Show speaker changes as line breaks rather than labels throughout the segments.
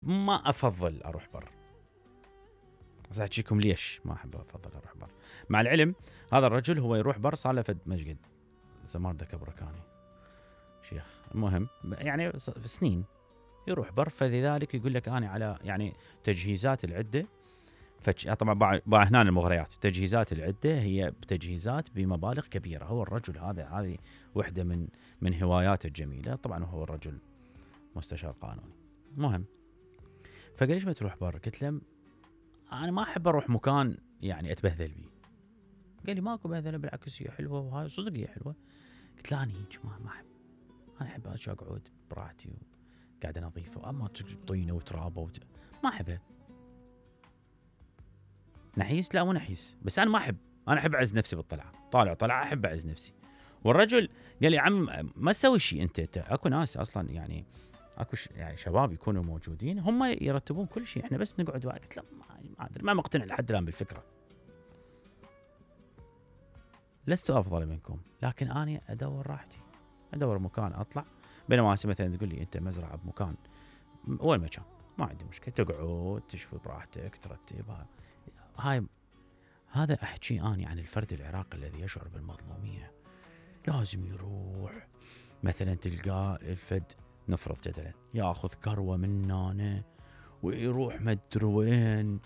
ما افضل اروح بر. بس احكيكم ليش ما احب افضل اروح بر. مع العلم هذا الرجل هو يروح بر صار له فد مشقد زمان ذا كبركاني شيخ، المهم يعني سنين يروح بر، فلذلك يقول لك انا على يعني تجهيزات العده طبعا هنا المغريات، تجهيزات العده هي تجهيزات بمبالغ كبيره. هو الرجل هذه وحده من هواياته الجميله، طبعا هو الرجل مستشار قانوني. مهم فقال ليش ما تروح بر؟ قلت له انا ما احب اروح مكان يعني اتبهذل بيه. قال لي ماكو بهذله، بالعكس هي حلوه، وهاي صدق هي حلوه. قلت له انا هيك ما احب، انا احب اقعد براحتي وقاعده نظيفه، اما طينه وترابه ما احبها. نحيس؟ لا مو نحيس، بس انا ما احب، انا احب اعز نفسي بالطلعه، طالع احب اعز نفسي. والرجل قال لي عم ما تسوي شيء انت اكو ناس اصلا يعني اكو يعني شباب يكونوا موجودين هم يرتبون كل شيء، احنا بس نقعد. قلت له ما ادري، ما مقتنع لحد الان بالفكره. لست افضل منكم، لكن انا ادور راحتي، ادور مكان اطلع. بينما مثلا تقول لي انت مزرعه بمكان، وين مكان ما عندي مشكله، تقعد تشوي براحتك ترتبها. هذا احكي اني عن الفرد العراقي الذي يشعر بالمظلوميه. لازم يروح مثلا تلقاه الفد، نفرض جدلا ياخذ كروه من هنا ويروح مدري وين،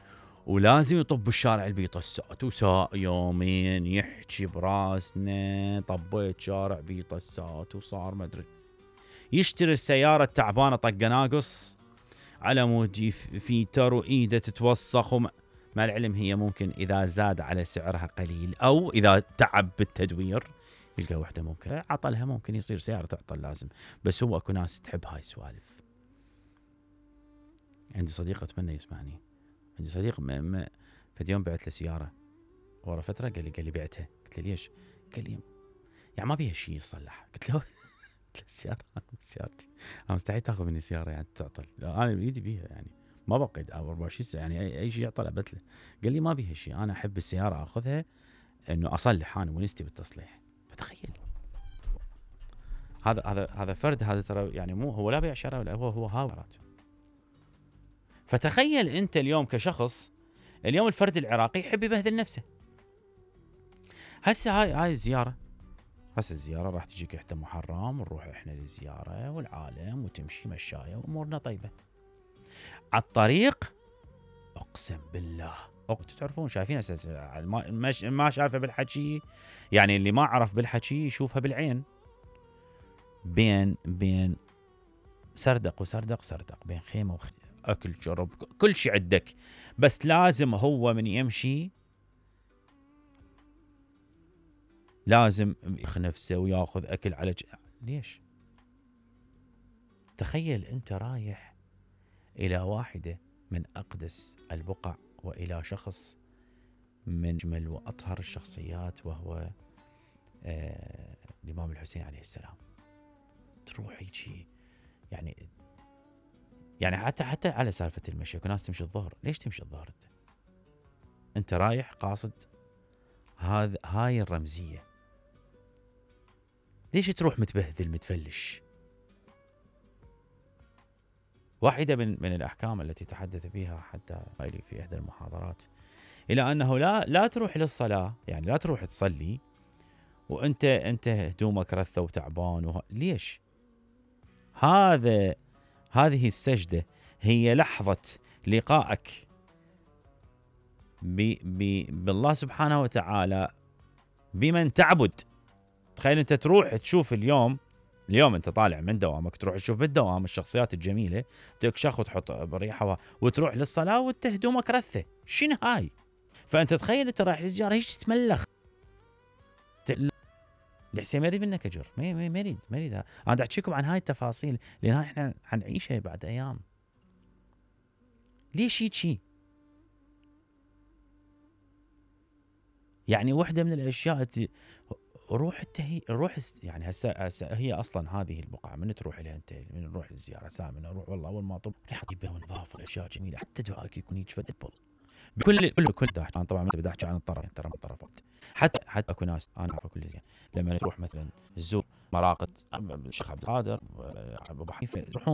ولازم يطب الشارع البيطة الساعة وساء يومين يحكي براسنا طبيت شارع بيطة الساعة وصار مدري، يشتري السيارة التعبانة طق ناقص على مود فيتر وإيده تتوسخ مع العلم هي ممكن إذا زاد على سعرها قليل أو إذا تعب بالتدوير يلقى وحدة ممكن عطلها، ممكن يصير سيارة تعطل لازم. بس هو أكو ناس تحب هاي السوالف. عندي صديق أتمنى يسمعني، عندي صديق فد يوم بعت له سيارة ورا فترة قال لي بعتها. قلت له ليش؟ قال لي يعني ما بيها شيء يصلح. قلت له السيارة سيارتي، أنا مستحيل تاخذ مني سيارة يعني تعطل، أنا بإيدي بيها يعني ما بقعد 24 ساعة يعني أي شيء يعطل أبتله. قال لي ما بيها شيء، أنا أحب السيارة أخذها إنه أصلح، أنا ونستي بالتصليح. فتخيل هذا فرد، هذا ترى يعني مو هو لا بيع شراء ولا هو هاورات. فتخيل أنت اليوم كشخص، اليوم الفرد العراقي يحب يبهذل نفسه. هسه هاي الزيارة، هسه الزيارة راح تجيك إحدى محرم ونروح إحنا للزيارة والعالم وتمشي مشاية وأمورنا طيبة. على الطريق أقسم بالله تعرفون شايفين ما شافه بالحكي، يعني اللي ما عرف بالحكي يشوفها بالعين. بين سردق بين خيمة أكل شرب كل شيء عندك، بس لازم هو من يمشي لازم ياخذ نفسه وياخذ أكل على ليش؟ تخيل أنت رايح إلى واحدة من أقدس البقع وإلى شخص من أجمل وأطهر الشخصيات وهو الإمام الحسين عليه السلام. تروح يجي يعني حتى على سالفة المشي، كل ناس تمشي الظهر. ليش تمشي الظهر أنت رايح قاصد هاي الرمزية؟ ليش تروح متبهذل متفلش؟ واحدة من الأحكام التي تحدث بها حتى في إحدى المحاضرات إلى أنه لا تروح للصلاة، يعني لا تروح تصلي وأنت هدومك رثة وتعبان ليش؟ هذه السجدة هي لحظة لقائك بالله سبحانه وتعالى بمن تعبد. تخيل أنت تروح تشوف اليوم أنت طالع من دوامك تروح تشوف بالدوام الشخصيات الجميلة تكشخ وتحط بريحة وتروح للصلاة وانت هدومك رثة. شنو هاي؟ فأنت تخيل أنت رايح للزيارة هيك تتملخ الحسين ما يريد منك أجر، ما يريد. أنا أحكيكم عن هاي التفاصيل لأن إحنا حنعيشها بعد أيام. ليش هيك؟ يعني واحدة من الأشياء روح يعني هسه هي أصلا هذه البقعة من تروح لها أنت، من نروح للزيارة سامي نروح والله أول ما طب ريحة طيبة ونظافة وأشياء جميلة، حتى دعائك يكون يجفل بكل داح. أنا طبعا ما بدي أحكي عن الطرف، ترى من طرفات. حتى أكو ناس أنا أعرفها كل زين لما تروح مثلا تزور مراقد الشيخ عبد القادر أبو حنيفة يروحون